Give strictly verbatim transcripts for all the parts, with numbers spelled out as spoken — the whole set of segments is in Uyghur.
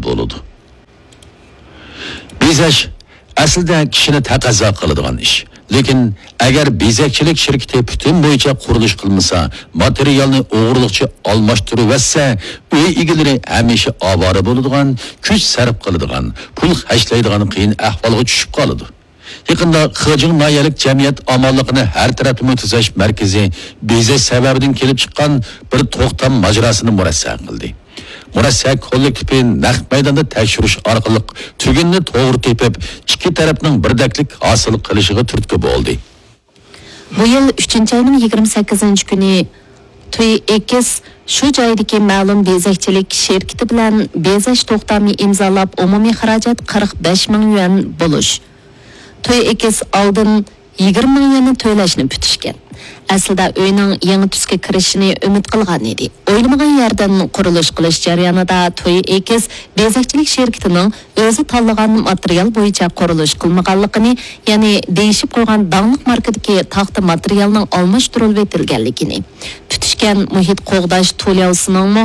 بولىدۇ. بېزەش ئەسلىدە كىشىنى تەقەززا قىلىدىغان ئىش. لېكىن ئەگەر بېزەكچىلىك شىركىتى پۈتۈن بويىچە قۇرۇلۇش قىلمىسا، ماتېرىيالنى ئوغرىلىقچە ئالماشتۇرۇۋەتسە، ئۆي ئىگىلىرى ھەمىشە ئاۋارە بولىدىغان، كۈچ سەرپ قىلىدىغان، پۇل خەجلەيدىغان قىيىن ئەھۋالغا چۈشۈپ قالىدۇ. يېقىندا خېجىڭ ناھىيەلىك جەمئىيەت ئامانلىقىنى ھەر تەرەپلىمە تۈزەش مەركىزى بېزەش سەۋەبىدىن كېلىپ چىققان بىر توختام ماجىراسىنى مۇرەسسە قىلدى. مۇرەسسە كوللېكتىپى نەق مەيداندا تەكشۈرۈش ئارقىلىق تۈگۈننى توغرا تېپىپ، ئىككى تەرەپنىڭ بىردەكلىك ھاسىل قىلىشىغا تۈرتكە بولدى. بۇ يىل ئۈچىنچى ئاينىڭ يىگىرمە سەككىزىنچى كۈنى تۈي ئېكس شۇ جايدىكى مەلۇم بېزەكچىلىك شىركىتى بىلەن بېزەش توختامى ئىمزالاپ، ئومۇمىي خىراجەت قىرىق بەش مىڭ يۈەن بولۇش، تۈي ئېكس ئالدىن يىگىرمە مىڭ يۈەننى تۆلەشنى پۈتۈشكەن. ئەسلىدە ئۆينىڭ يېڭى تۈسكە كىرىشىنى ئۈمىد قىلغان ئىدى. ئويلىمىغان يەردىن قۇرۇلۇش قىلىش جەريانىدا تۈي ئېكس بېزەكچىلىك شىركىتىنىڭ ئۆزى تاللىغان ماتېرىيال بويىچە قۇرۇلۇش قىلمىغانلىقىنى، يەنى دېيىشىپ قويغان داڭلىق ماركىدىكى تاختا ماتېرىيالنىڭ ئالماشتۇرۇلۇۋېتىلگەنلىكىنى، پۈتۈشكەن مۇھىت قوغداش تۇلياۋسىنىڭمۇ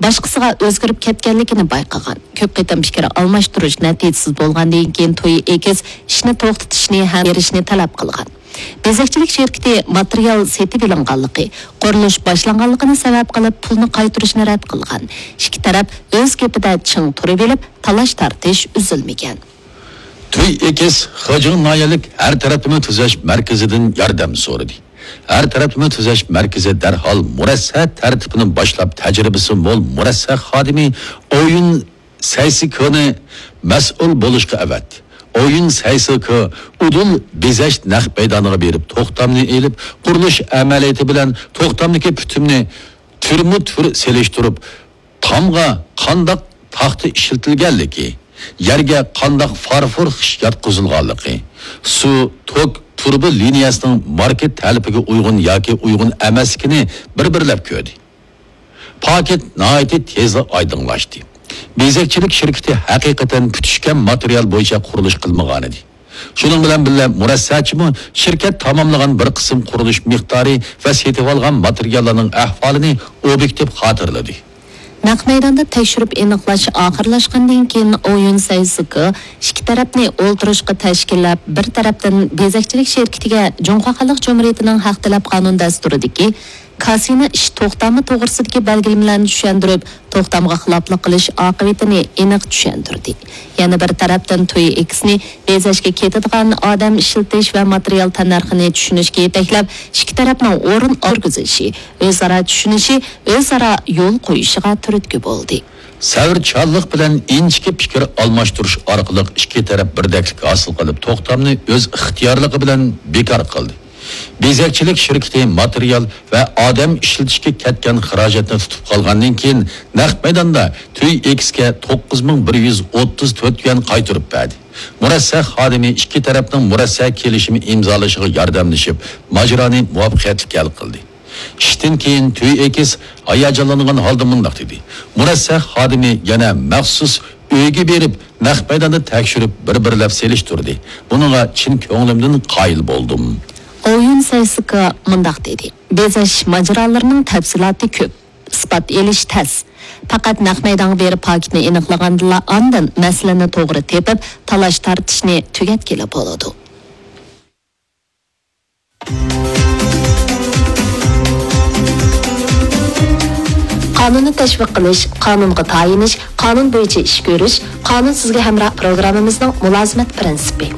باشقىسىغا ئۆزگىرىپ كەتكەنلىكىنى بايقىغان. كۆپ قېتىم پىكىر ئالماشتۇرۇش نەتىجىسىز بولغاندىن كېيىن، تۈي ئېكس ئىشنى توختىتىشنى ھەم بېرىشنى تەلەپ قىلغان. بېزەكچىلىك شىركىتى ماتېرىيال سېتىۋېلىنغانلىقى، قۇرۇلۇش باشلانغانلىقىنى سەۋەب قىلىپ، پۇلنى قايتۇرۇشنى رەت قىلغان. ئىككى تەرەپ ئۆز گېپىدە چىڭ تۇرۇۋېلىپ، تالاش-تارتىش ئۈزۈلمىگەن. تۈي ئېكس خېجىڭ ناھىيەلىك ھەر تەرەپلىمە تۈزەش مەركىزىدىن ياردەم سورىدى. ھەر تەرەپلىمە تۈزەش مەركىزى دەرھال مۇرەسسە تەرتىپىنى باشلاپ، تەجرىبىسى مول مۇرەسسە خادىمى ئويۇن سەيسىكونى مەسئۇل بولۇشقا ئەۋەتتى. ئويۇن سەيسىكو ئۇدۇل بېزەش نەق مەيدانىغا بېرىپ، توختامنى ئېلىپ، قۇرۇلۇش ئەمەلىيىتى بىلەن توختامدىكى پۈتۈمنى تۈرمۇ تۈر سېلىشتۇرۇپ، تامغا قانداق تاختا ئىشلىتىلگەنلىكى، يەرگە قانداق فارفور خىش ياتقۇزۇلغانلىقى، سۇ، توك، تۇرۇبا لىنىيەسىنىڭ ماركا تەلىپىگە ئۇيغۇن ياكى ئۇيغۇن ئەمەسلىكىنى بىر-بىرلەپ كۆردى. پاكىت ناھايىتى تېزلا ئايدىڭلاشتى. بېزەكچىلىك شىركىتى ھەقىقەتەن پۈتۈشكەن ماتېرىيال بويىچە قۇرۇلۇش قىلمىغانىدى. شۇنىڭ بىلەن بىللە، مۇرەسسەچىمۇ شىركەت تاماملىغان بىر قىسىم قۇرۇلۇش مىقدارى ۋە سېتىۋالغان ماتېرىياللارنىڭ ئەھۋالىنى ئوبيېكتىپ خاتىرىلىدى. نەق مەيداندا تەكشۈرۈپ ئېنىقلاش ئاخىرلاشقاندىن كېيىن، ئويۇن سەيسىكو ئىككى تەرەپنى ئولتۇرۇشقا تەشكىللەپ، بىر تەرەپتىن بېزەكچىلىك شىركىتىگە جۇڭخۇا خەلق جۇمھۇرىيىتىنىڭ ھەق تەلەپ قانۇن دەستۇرىدىكى كاسىنا ئىش توختامى توغرىسىدىكى بەلگىلىمىلەرنى چۈشەندۈرۈپ، توختامغا خىلاپلىق قىلىش ئاقىۋىتىنى ئېنىق چۈشەندۈردى. يەنە بىر تەرەپتىن، تۈي ئېكسنى بېزەشكە كېتىدىغان ئادەم ئىشلىتىش ۋە ماتېرىيال تەننەرخىنى چۈشىنىشكە يېتەكلەپ، ئىككى تەرەپنىڭ ئورۇن ئالغۇزۇشى، ئۆزئارا چۈشىنىشى، ئۆزئارا يول قويۇشىغا تۈرتكە بولدى. سەۋرچانلىق بىلەن ئىنچىكە پىكىر ئالماشتۇرۇش ئارقىلىق ئىككى تەرەپ بىردەكلىك ھاسىل قىلىپ، توختامنى ئۆز ئىختىيارلىقى بىلەن بىكار قىلدى. بېزەكچىلىك شىركىتى ماتېرىيال ۋە ئادەم ئىشلىتىشكە كەتكەن خىراجەتنى تۇتۇپ قالغاندىن كېيىن، نەق مەيداندا تۈي ئېكسكە توققۇز مىڭ بىر يۈز ئوتتۇز تۆت يۈەن قايتۇرۇپ بەردى. مۇرەسسە خادىمى ئىككى تەرەپنىڭ مۇرەسسە كېلىشىمى ئىمزالىشىغا ياردەملىشىپ، ماجىرانى مۇۋەپپەقىيەتلىك ھەل قىلدى. ئىشتىن كېيىن تۈي ئېكس ھاياجانلانغان ھالدا مۇنداق دېدى: مۇرەسسە خادىمى يەنە مەخسۇس ئۆيگە بېرىپ، نەق مەيداندا تەكشۈرۈپ، بىر-بىرلەپ سېلىشتۇردى. بۇنىڭغا چىن كۆڭلۈمدىن قايىل بولدۇم. ئويۇن سەيسىكا مۇنداق دېدى: بېزەش ماجىرالىرىنىڭ تەپسىلاتى كۆپ، ئىسپات ئېلىش تەس. پەقەت نەق مەيدانغا بېرىپ پاكىتنى ئېنىقلىغاندىلا، ئاندىن مەسىلىنى توغرا تېپىپ، تالاش-تارتىشنى تۈگەتكىلى بولىدۇ. قانۇننى تەشۋىق قىلىش، قانۇنغا تايىنىش، قانۇن بويىچە ئىش كۆرۈش، قانۇن سىزگە ھەمراھ پروگراممىمىزنىڭ مۇلازىمەت پىرىنسىپى.